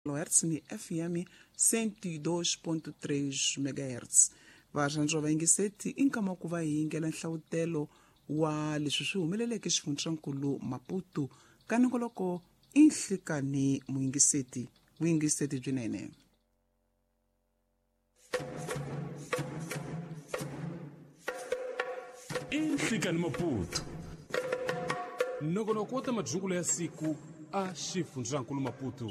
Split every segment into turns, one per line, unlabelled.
kHz ni FM 102.3 MHz. Varhandzi va yingiseti i nkama ku va hi yingela nhlavutelo wa leswi swi humeleleke xifundzankulu Maputo ka nongoloko i nhlikani muyingiseti vuyingiseti byinene.
I nhlikani Maputo nongonoko wa ta madyungulo ya siku a xifundzankulu Maputo.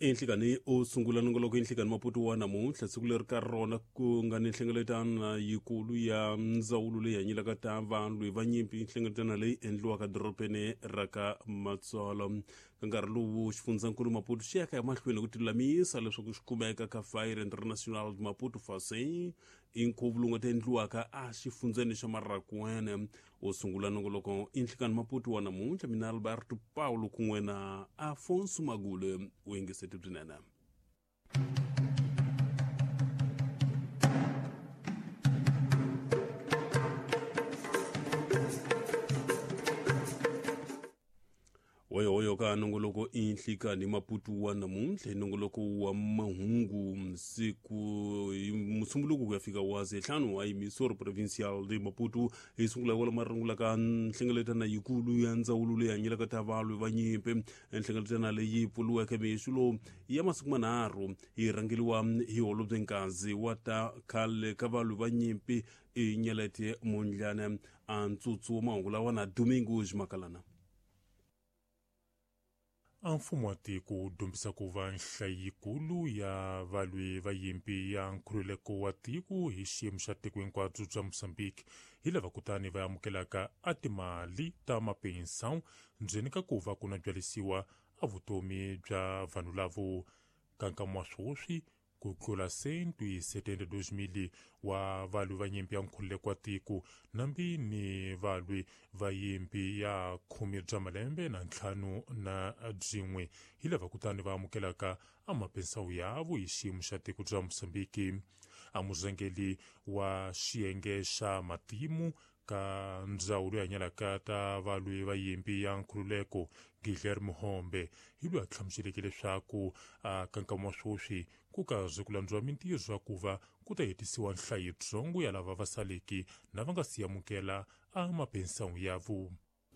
Enhlikani u sungula nongoloko enhlikani Maputo wa namuntlha siku leri ka rona ku nga ni nhlengeletano yikulu ya ndzawulo leyi hanyelaka ta valwi va nyimpi, nhlengeletano leyi endliwaka dorobeni ra ka Matsolo. Ka nkarhi lowu xifundzankulu Maputo xi yaka emahlweni ku tilulamisa leswaku xi kumeka ka Fire International Maputo Fase i nkhuvo lowu nga ta endliwaka a xifundzeni xa Marakwene. U sungula nongoloko i nhlikani Maputo wa namuntlha, mina Alberto Paulo kun'we na Afonso Magule u yingiseti byinene. Hoyohoyo ka nongoloko i nhlikani Maputo wa namuntlha, i nongoloko wa mahungu siku hi musumbuluko ku ya fika wa zehlanu a emisoro provincial de Maputo. Hi sungula kwala marungula ka nhlengeletano yikulu ya ndzawulo leyi hanyelaka ta valwi va nyimpi, nhlengeletano leyi pfuriweke mixo lowu ya masiku manharhu yi rhangeriwa hi holobye Nkazi wa ta khale ka valwi va nyimpi i Nyeleti Mondlane. A ntsutsu wa mahungu lawa na Domingos Makalana.
A mfumo wa tiko wu dyondzisa ku va nhlayo yikulu ya valwi va yimpi ya nkhululeko wa tiko hi xiyimo xa tiko hinkwabyo bya Mozambique hi lava kutani va amukelaka a timali ta mapensão ndzeni ka ku va ku na byalisiwa a vutomi bya vanhu lavo. Ka nkama wa sweswi ku tlula 172 000 wa valwi va nyimpi ya nkhululeko wa tiko nambi ni valwi va yimpi ya khume bya malembe na ntlhanu na byin'we hi lava kutani va amukelaka a mapensawu yavo hi xiyimo xa tiko bya Mozambique. A murhangeri wa xiyenge xa matimu ka ndzawulo ya hanyelaka ta valwi va yimpi ya nkhululeko Guilherme Hombe hi loyi a hlamuseleke leswaku a ka nkama wa sweswi ku karhi ku landziwa mintirho ya ku va ku ta hetisiwa nhlayo yitsongo ya lava va saleke na va nga si amukela a mapensawu yavo.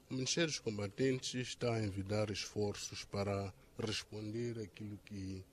O Ministério dos Combatentes está a envidar esforços para responder aquilo que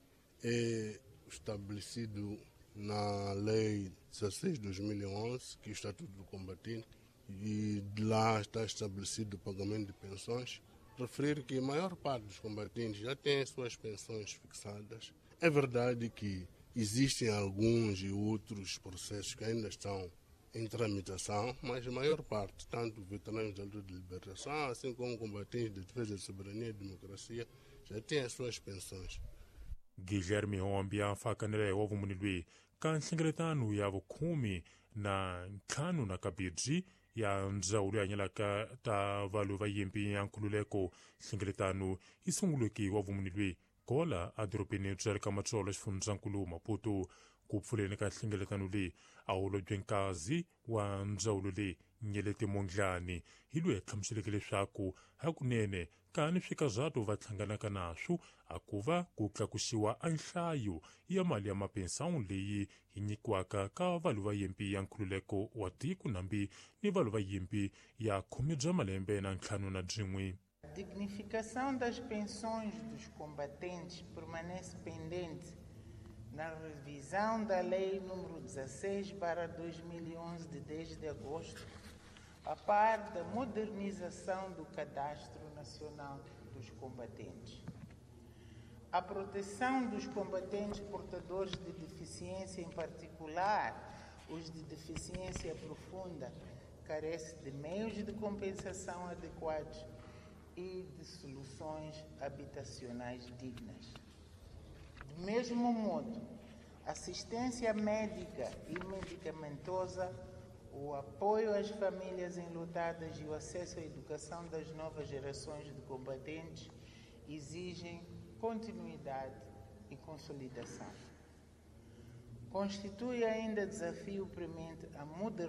é estabelecido na Lei 16 de 2011, que é o Estatuto do Combatente, e de lá está estabelecido o pagamento de pensões. Referir que a maior parte dos combatentes já tem as suas pensões fixadas. É verdade que existem alguns e outros processos que ainda estão em tramitação, mas a maior parte, tanto veteranos da luta de libertação, assim como combatentes de defesa da soberania e democracia, já têm as suas pensões.
Guilherme Hombe a fakanele wa vumunhu loyi ka nhlengeletano ya vukhume na ntlhanu na kabirhi ya ndzawulo ya hanyelaka ta valwi va yimpi ya nkhululeko. Nhlengeletano yi sunguleke wa vumunhu loyi kola edorobeni bya le ka Matsolo xifundzankulu Maputo. Ku pfuleni ka nhlengeletano leyi a holobye Nkazi wa ndzawulo leyi Nyeleti Mondlane hi loyi a hlamuseleke leswaku hakunene kani swikazato va hlanganaka naswo a ku va ku tlakusiwa a nhlayo ya mali ya mapensawu leyi yi nyikiwaka ka valwi va yimpi ya nkhululeko wa tiko nambi ni valwi va yimpi ya khume bya malembe na ntlhanu na byin'we.
A dignificação das pensões dos combatentes permanece pendente na revisão da Lei nº 16/2011 de 10 de agosto, a par da modernização do Cadastro Nacional dos Combatentes. A proteção dos combatentes portadores de deficiência, em particular os de deficiência profunda, carece de meios de compensação adequados e de soluções habitacionais dignas. Do mesmo modo, assistência médica e medicamentosa, o apoio às famílias enlutadas e o acesso à educação das novas gerações de combatentes exigem continuidade e consolidação. Constitui ainda desafio premente a modernização